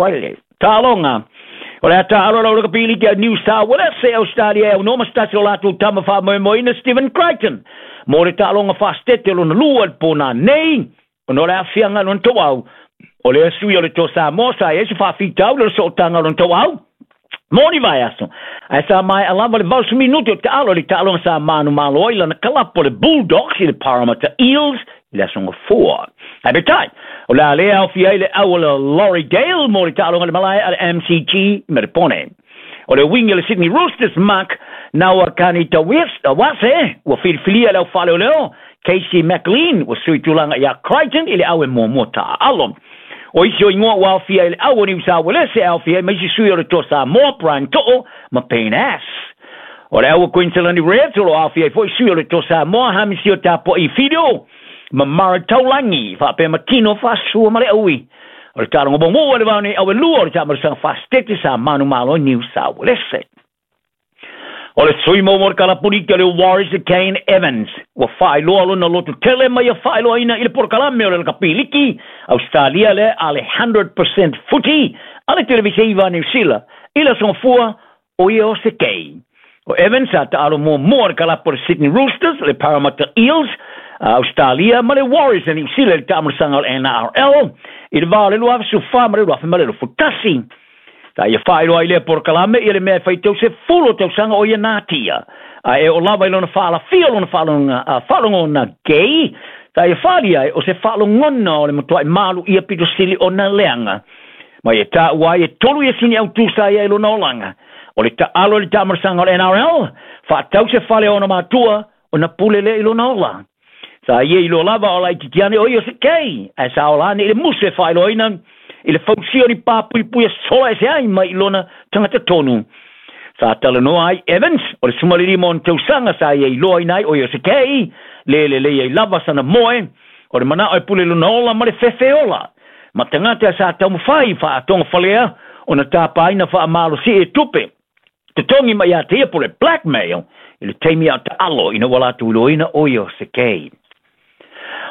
Friday. Taaloga. O le a taalo lau lakapi liki a New South Wales e Australia e aunoa ma se tasi o latou tama faamoemoeina Stephen Crichton mo le taaloga faasetete lona lua i le po nanei ona o le aafiaga i lona tauau. O lea sui o le Toa Samoa sa i ai se faafitauli o le sootaga o lona tauau mo ni vaiaso, ae sa maea lava le 80 minute o taalo i le taaloga sa manumalo ai lana kalapo le Bulldogs i le Parramatta Eels i le aso Gafua. Ae peitai, o le a le aofia ai le au o le Laurie Gale mo le taaloga i le malae a le MCG i Merepone. O le wing o le Sydney Roosters Mark Nawaqanitawase ua filifilia e le au faaleoleo Casey McLean ua sui tulaga ia Crichton i le au e muamua taaalo. O isi o igoa ua aofia i le au o Niu Sa Uelese e aofia ai ma isi sui o le Toa Samoa, Brian To'o ma Payne Ass. O le au o Queensland Reds o lo o aofia ai foi sui o le Toa Samoa, Hamisio Tapua'i Fido ma Mara Taulangi, faapea ma Tino Faasua ma le Aui. O le taaloga muamua i le vao nei au e lua o le taamalosaga faasetete sa manumalo i Niu Sa Uelese. O le sui mo le kalapuliki o le Warriors Kane Evans ua faailoa lona loto tele ma ia faailoaina i le polokalame o le lakapiliki Australia le a le 100% Footy a le Televise Niu Sila i le aso Gafua o ia o se kei. O Evans sa taalo muamua le kalapo o le Sydney Roosters, le Parramatta Eels, Australia ma le Warriors a Niu Sila i le taamalosaga o le NRL i le va o le 2014 ma le 2021. Sa ia faailoa ai lea polokalame ia le mea e faitau 10 o tausaga o ia natia. A e o lava i lona faalafia lona faalogona gay, sa ia faali ai o se faalogona o le matuai malu ia pito sili o na leaga. Ma ia taua ai e tolu ia sini autu sa ia i lona olaga. O le taalo i le taamalosaga o le NRL, faatau se fale o ona matua o na pule lea i lona ola. Sa ia iloa lava o laitiiti ane o ia o se kei, ae sa ola ane i le musu e faailoaina i le fausia o ni papuipui e sola ese ai mai i lona tagata tonu. Sa talanoa ai Evans, o le 15 o ona tausaga sa ia iloaina ai o ia o se kei, le lelei ai lava sana moe, o le manao e pule lona ola ma le fefe ola. Ma tagata sa taumafai faatogafalea ona tapaina faamalosi e tupe. Totogi mai ia te ia po le blackmail i le taimi a taalo ina ua latou iloaina o ia o se kei.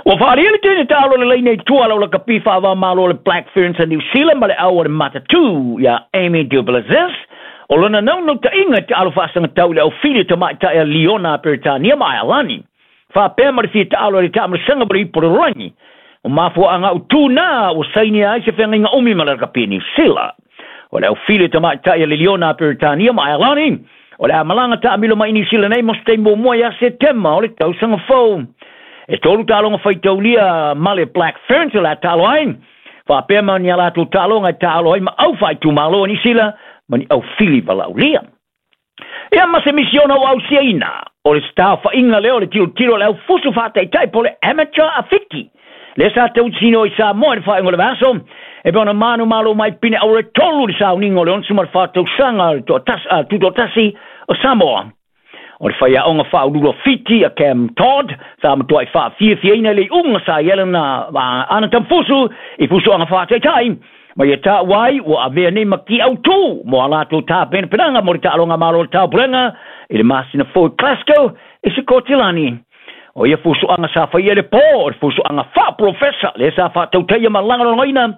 Ua faalia le tele taalo le laina i tua lau lakapi faavamalo le Black Ferns a New Zealand ma le au o le Matatū ia Amy du Plessis. O lona naunautaiga e taalo faasagatau i le aufili o tamaitai a Liona a Peretania ma Ailani. Faapea ma le fia taalo i le taamalosaga ma le ipu o le lalolagi. O mafuaaga autū na ua sainia ai se feagaiga umi ma le lakapi New Zealand. O le aufili o tamaitai a le Liona a Peretania ma Ailani o le a malaga taamilo mai New Zealand nei mo se taimi muamua ia Setema o le tausaga fou. E tolu taaloga faitaulia ma le Black Ferns o le a taalo ai. Faapea ma ni a latou taaloga e taalo ai ma au faaitumalo o Niu Sila ma ni aufili valaaulia. Ia ma se misiona ua ausiaina, o le setaofaiga lea o le tilotilo a le aufusu faataitai po o le amateur a Fiti. Lea sa tautisino i Samoa i le faaiuga o le vaiaso, e pei ona manumalo mai pine auro e tolu i le sauniga o le 64 tausaga o le tutoatasi o Samoa. O le faiaoga faauluulu a Fiti a Cam Todd sa matuai faafiafiaina i le iuga sa i ai lana ana tamafusu i fusuaga faataitai ma ia taua ai ua avea nei ma ki autū mo a latou tapenapenaga mo le taaloga malo o le Taupulega i le masina fou i Glasgow i Sikotilani. O ia fusuaga sa faia i le po o le fusuaga faaprofesa lea sa faatautaia ma lagolagoina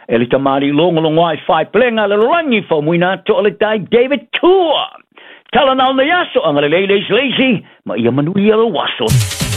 e le tamalii logologoa i faepelega a le lalolagi faumuina atu o le tai David Tua. Tala na o nei aso, agalelei le isi le isi, ma ia manuia lou aso.